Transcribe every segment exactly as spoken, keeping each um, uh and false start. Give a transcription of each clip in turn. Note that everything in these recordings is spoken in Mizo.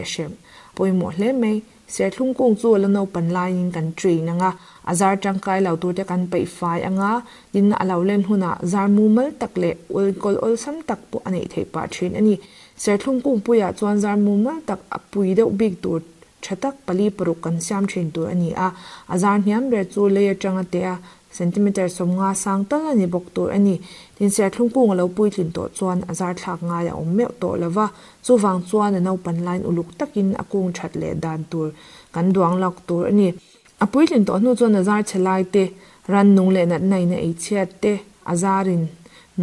A hre pawimawh hle mai. Serthlum kung chu a la naupan laiin kan train anga, a zar tangkai lo tur te kan peih fai anga, tin a lo len hunah zar mumal tak leh enkawl awlsam tak pawh a neih theih pah thin a ni. Serthlum kung puiah chuan zar mumal tak a pui deuh bik tur tha tak pali paruk kan siam thin tur a ni a. A zar hniam ber chu lei atanga te a centimeter sawmnga sang tal a ni bawk tur a ni. Tin serthlum kung a lo puitlin tawh chuan a zar thlak ngai a awm meuh tawh lova, chuvang chuan a naupan laiin uluk takin a kung that leh dan tur kan duang lak tur a ni. A puitlin tawh hnu chuan a zar chhe lai te, ran nung leh natna in a ei chhiat te, a zarin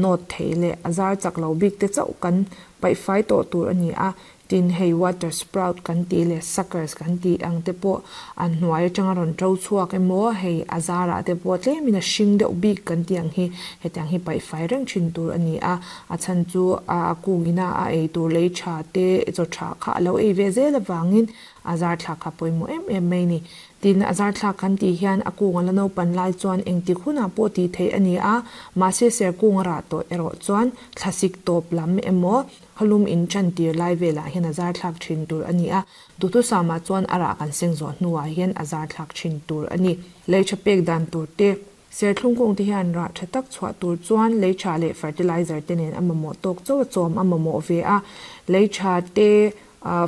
nawt thei leh a zar chak lo bik te chauh kan paih fai tawh tur a ni a. Tin hei water sprout kan tih leh suckers kan tih ang te pawh an hnuai atanga rawn to chhuak emaw hei a zarah te pawh tlemin a hring deuh bik kan tih ang hi hetiang hi paih fai reng thin tur a ni a. A chhan chu a kungina a ei tur lei tha te chaw tha kha a lo ei ve zel avangin a zar thlak kha pawimawh em em mai ni. Tin a zar thlak kan tih hian a kung a la naupan lai chuan engtik hunah pawh tih theih a ni a, mahse ser kung a rah tawh erawh chuan thlasik tawp lam emaw khalum in chan tir lai velah hian a zar thlak thin tur a ni a. Duhthusama chuan a rah kan seng zawh hnuah hian a zar thlak thin tur a ni. Lei tha pek dan tur te, serthlum kung te hian rah tha tak chhuah tur chuan lei tha leh fertilizer te nen a mamawh tawk chaw a chawm a mamawh ve a. Lei tha te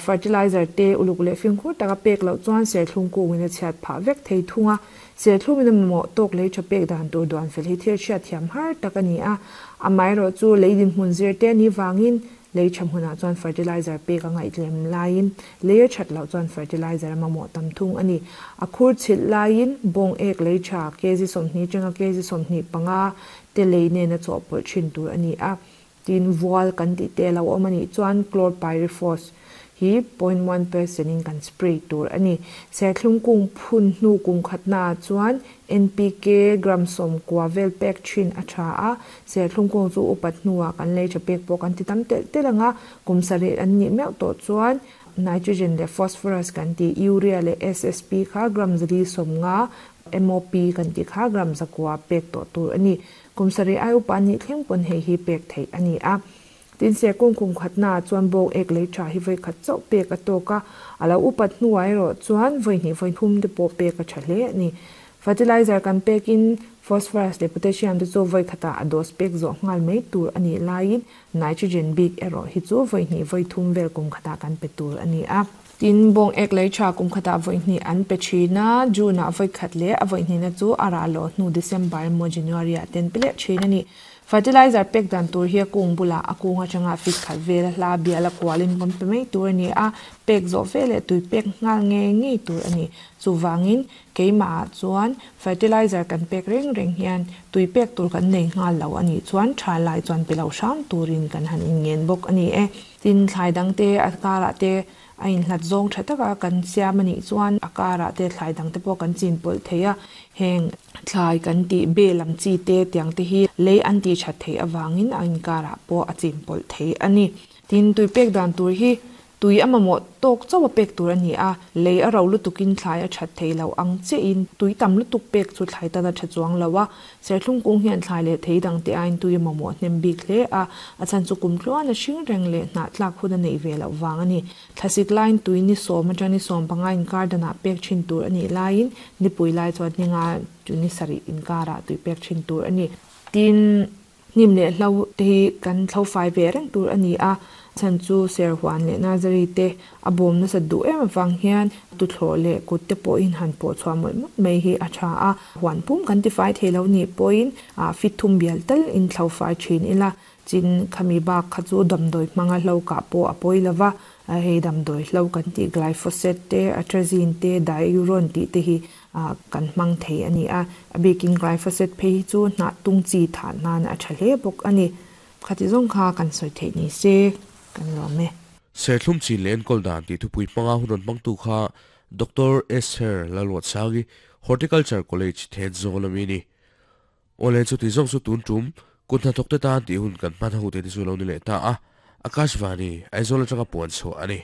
fertilizer te uluk leh fimkhur taka pek loh chuan serthlum kungin a chhiat phah vek thei thung a. Serthlum in a mamawh tawk lei tha pek dan tur duan fel hi thil hriat thiam har tak a ni a. Amaherawh chu lei dinhmun zir te ni wangin lei tha hmunah chuan fertilizer pek a ngaihtlem laiin lei a that loh chuan fertilizer a mamawh tam thung a ni. A khur chhilh laiin bawng ek lei tha kg sawmhnih atanga kg sawmhnih panga te lei nen a chawhpawlh thin tur a ni a. Tin vual kan tih te lo awm a nih chuan chlorpyrifos hi zero point one percent in kan spray tur a ni. Serthlum kung phun hnu kum khatna chuan N P K gram sawm kua vel pek thin a tha a. Serthlum kung chu upat hnuah kan lei tha pek pawh kan ti tam tel tel anga, kum sarih an nih meuh tawh chuan nitrogen leh phosphorus kan ti urea leh S S P kha gram zali sawmnga M O P kan ti kha gram zakua pek tawh tur a ni. Kum sarih ai upa nih thleng pawn hei hi pek theih a ni a. Tin ser kung kum khatna chuan bawng ek lei tha hi voi khat chauh pek a tawk a. A lo upat hnuah erawh chuan voi hnih voi thum te pawh pek a tha hle a ni. Fertilizer kan pekin phosphorus leh potassium te chu voi khatah a dose pek zawh nghal mai tur a nih laiin nitrogen bik erawh hi chu voi hnih voi thum vel kum khatah kan pe tur a ni a. Tin bawng ek lei tha kum khatah voi hnih an pe thin a, June ah voi khat leh a voi hnihna chu a rah loh hnu December emaw January ah ten pe leh thin a ni. Fertilizer pek dan tur hi a kung bulah a kung atanga fit khat vel a hla bial a kualin kan pe mai tur a ni a. Pek zawh vel leh tui pek nghal nge ngei tur a ni. Chuwangin keimah ah chuan fertilizer kan pek reng reng hian tui pek tur kan nei nghal lo a nih chuan tha lai chuan pe lo hram turin kan han inngen bawk a ni e. Tin thlai dang te a karah te a inhlat zawng tha taka kan siam a nih chuan a karah te thlai dang te pawh kan chin pawlh thei a. Heng thlai kan tih be lam chi te tiang te hi lei an ti that thei awangin a inkarah pawh a chin pawlh thei a ni. Tin tui pek dan tur hi tui a mamawh tawk chaw a pek tur a ni a. Lei a ro lutukin thlai a that thei lo ang che in tui tam lutuk pek chu thlai tan a tha chuang lo a. Serthlum kung hian thlai leh thei dang te aiin tui a mamawh hnem bik hle a. A chan chu kum tluan a hring reng leh hnah tlak hun a nei ve loh wang a ni. Thlasik laiin tui ni sawm atang ni sawm panga inkar danah pek thin tur a nih laiin nipui lai chuan ninga chu ni sarih inkarah tui pek thin tur a ni. Tin hnim leh hlo te hi kan thlo fai ve reng tur a ni a. Chan chu serhuan leh nursery te a bawm nasa duh em awang hian tuthlawh leh kut te pawhin han pawh chhuah mawlh mawlh mai hi a tha a. Huan pum kan ti fai thei lo nih pawhin a fit thum bial tal in thlo fai thin ila. Chin khami bak kha chu damdawi hmanga hlo kah pawh a pawi lova. Hei damdawi hlo kan tih glyphosate te atrazine te diuron tih te hi kan hmang thei a ni a. A bikin glyphosate phei hi chu hnah tung chi thah nan a tha hle bawk a ni. Khati zawng kha kan sawi theih ni se kan lawm e. Serthlum chin leh enkawl dan tih thupui hmanga hun rawn hmangtu kha Doctor Esther Lalruatsangi Horticulture College Thenzawl ami ni. Awle chu ti zawng chu tun tum kut hnathawk te tan tih hun kan hman ho te te chu lo ni leh ta a. Akashvani Aizawl atanga puan chhuah a ni.